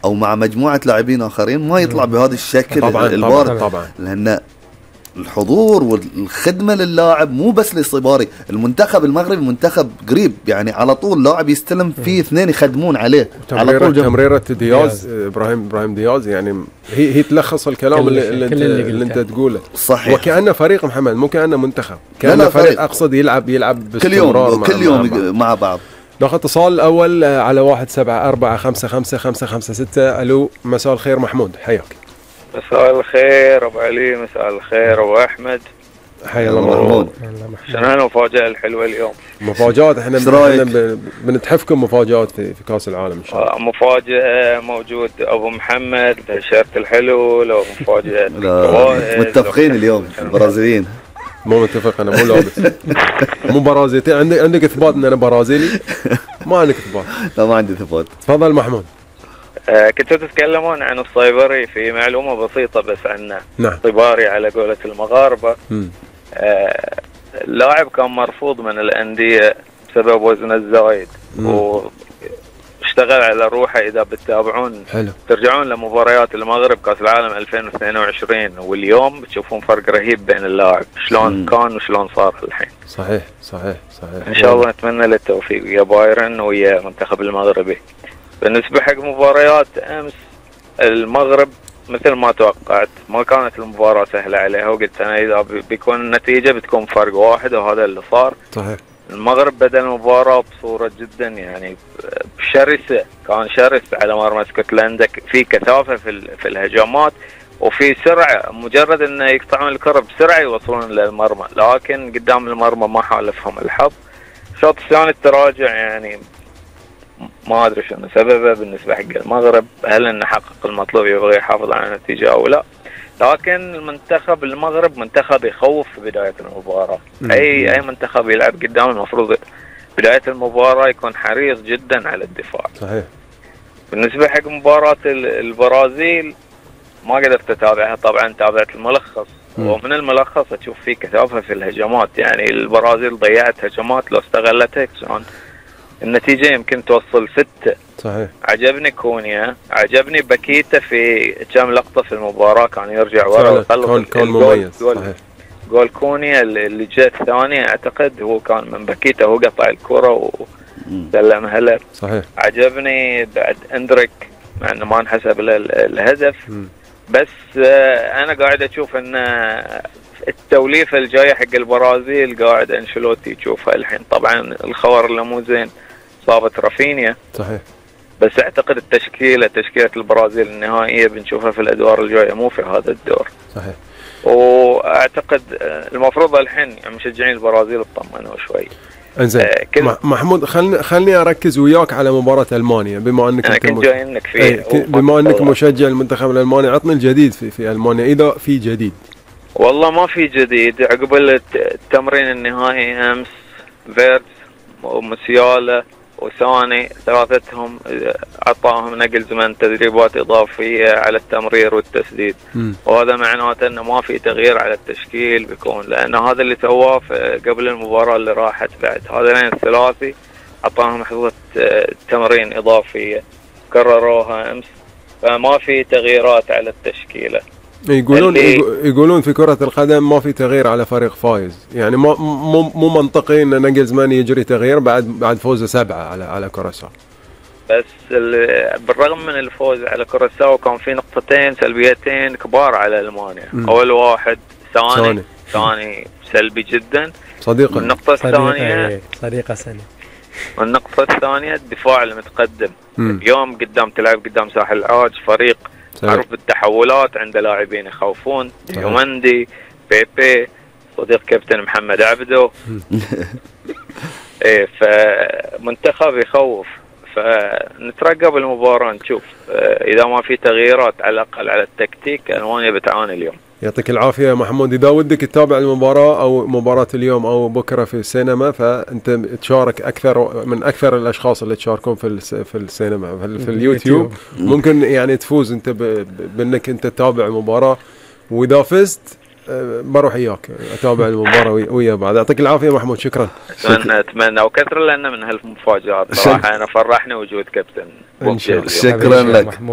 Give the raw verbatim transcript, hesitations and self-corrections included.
او مع مجموعه لاعبين اخرين ما يطلع بهذا الشكل طبعا البارع. طبعا, طبعا. لان الحضور والخدمه للاعب مو بس لصباري. المنتخب المغربي منتخب قريب، يعني على طول لاعب يستلم فيه اثنين يخدمون عليه على طول. تمريره دياز ابراهيم ابراهيم دياز يعني هي هي تلخص الكلام اللي, اللي, اللي, اللي, اللي انت تقوله. صحيح. وكأنه فريق محمد، مو كأنه منتخب، كأنه فريق, فريق اقصد يلعب يلعب باستمرار كل يوم كل يوم مع, مع بعض. ناخذ اتصال الاول على واحد سبعة أربعة خمسة خمسة خمسة خمسة ستة. الو مساء الخير محمود، حياك. مساء الخير ابو علي، مساء الخير ابو احمد، حيا الله محمود. شنو هالمفاجأة الحلوة اليوم؟ مفاجآت، احنا بنتحفكم مفاجآت في, في كاس العالم ان شاء الله. مفاجأة موجود ابو محمد بشرط الحلو، لو مفاجأة متفقين اليوم البرازيليين. مو متفق، انا مو لابس مو برازيلي. عندك عندك اثبات ان انا برازيلي؟ ما عندك اثبات؟ لا ما عندي اثبات. تفضل محمود. آه كنتوا تتكلمون عن الصيبري، في معلومة بسيطة بس عنه. نعم. صيباري على قولة المغاربة. آه اللاعب كان مرفوض من الأندية بسبب وزنه الزايد، واشتغل على روحه. إذا بتتابعون حلو. ترجعون لمباريات المغرب كأس العالم ألفين واثنين وعشرين واليوم بتشوفون فرق رهيب بين اللاعب، شلون مم. كان وشلون صار الحين. صحيح صحيح صحيح. إن شاء الله نتمنى له التوفيق ويا بايرن ويا المنتخب المغربي. بالنسبة حق مباريات أمس المغرب مثل ما توقعت، ما كانت المباراة سهلة عليها، وقلت أنا إذا بيكون النتيجة بتكون فرق واحد، وهذا اللي صار. صحيح. المغرب بدأ المباراة بصورة جدا يعني شرسة، كان شرس على مرمى اسكتلندا، في كثافة في في الهجمات وفي سرعة، مجرد أن يقطعون الكرة بسرعة يوصلون للمرمى، لكن قدام المرمى ما حالفهم الحظ. الشوط الثاني التراجع يعني ما ادري شنو سببه بالنسبه حق المغرب، هل انه حقق المطلوب يبغى يحافظ على النتيجه او لا، لكن المنتخب المغرب منتخب يخوف في بدايه المباراه. اي اي منتخب يلعب قدام المفروض بدايه المباراه يكون حريص جدا على الدفاع. صحيح. بالنسبه حق مباراه البرازيل ما قدرت اتابعها، طبعا تابعت الملخص. مم. ومن الملخص اشوف فيه كثافه في الهجمات، يعني البرازيل ضيعت هجمات لو استغلتها كان النتيجة يمكن توصل ستة. صحيح. عجبني كونيا، عجبني باكيتا في كم لقطة في المباراة كان يرجع ورا ويخلص كان مميز. صحيح. جول كونيا اللي جاء الثانية اعتقد هو كان من باكيتا، هو قطع الكرة وسلمها له. صحيح. عجبني بعد اندريك مع انه ما انحسب له الهدف. م. بس انا قاعد اشوف ان التوليفة الجاية حق البرازيل قاعد انشيلوتي يشوفها الحين. طبعا الخبر اللي مو زين صابت رافينيا. صحيح. بس اعتقد التشكيلة تشكيلة البرازيل النهائية بنشوفها في الادوار الجاية مو في هذا الدور. صحيح. واعتقد المفروض الحين مشجعين البرازيل اطمنوا شوي. انزين. آه محمود خلني خلني اركز وياك على مباراة المانيا، بما انك انا كنت جاي انك فيه. بما انك مشجع المنتخب الالماني، عطني الجديد في في المانيا اذا في جديد. والله ما في جديد. عقب التمرين النهائي امس فيرتس وموسيالا وساني ثلاثتهم عطاهم نقل زمن تدريبات اضافيه على التمرير والتسديد. م. وهذا معناته انه ما في تغيير على التشكيل بيكون، لان هذا اللي سواه قبل المباراه اللي راحت بعد هذين الثلاثي عطاهم حصه تمرين اضافيه كرروها امس، فما في تغييرات على التشكيله. يقولون يقولون في كرة القدم ما في تغيير على فريق فايز، يعني مو مو مو منطقي ان ناجلزمان يجري تغيير بعد بعد فوزه سبعة على على كوراساو. بس بالرغم من الفوز على كوراساو كان في نقطتين سلبيتين كبار على المانيا. م. اول واحد ثاني ثاني سلبي جدا صديقه. النقطة الثانية صديقة سنة. والنقطة الثانية الدفاع المتقدم. م. اليوم قدام تلعب قدام ساحل العاج فريق معروف بالتحولات، عنده لاعبين يخوفون، يومندي، بيبي، صديق كابتن محمد عبده. ايه فمنتخب يخوف، فنترقب المباراة نشوف اذا ما في تغييرات على الاقل على التكتيك المانيا بتعاني اليوم. يعطيك العافية يا محمود. إذا ودك تتابع المباراة أو مباراة اليوم أو بكرة في السينما، فأنت تشارك أكثر من أكثر الأشخاص اللي تشاركون في في السينما في, في اليوتيوب. ممكن يعني تفوز أنت بأنك أنت تتابع المباراة، وإذا فزت بروح إياك أتابع المباراة ويا بعض. يعطيك العافية محمود. شكرا. أتمنى أتمنى وكثر لنا من هالمفاجآت صراحة. أنا فرحني وجود كابتن. شكرا لك.